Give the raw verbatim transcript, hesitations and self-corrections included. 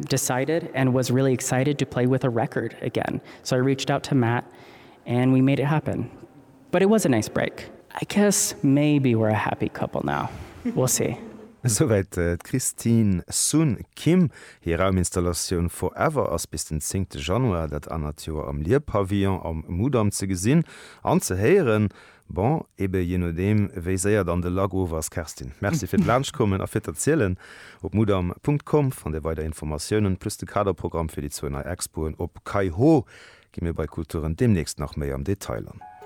decided and was really excited to play with a record again. So I reached out to Matt and we made it happen. But it was a nice break. I guess maybe we're a happy couple now. We'll see. Souwäit d'Christine Sun Kim. Hir Rauminstallatioun Forever ass bis den zéngte Januar dat anert Joer am Lier-Pavillon am Mudam ze gesinn an ze héieren. Bon, ebe jee nodeem wéi séier dann de Lack of ass. Kerstin, Merci fir d'Laanschtkommen a fir d'Erzielen. Op mudam Punkt com fannt Dir weider Informatiounen, plus de Kaderprogramm fir déi zwou nei Expoen op Kayho gi mir bei Kulturen deemnächst nach méi am Detail an.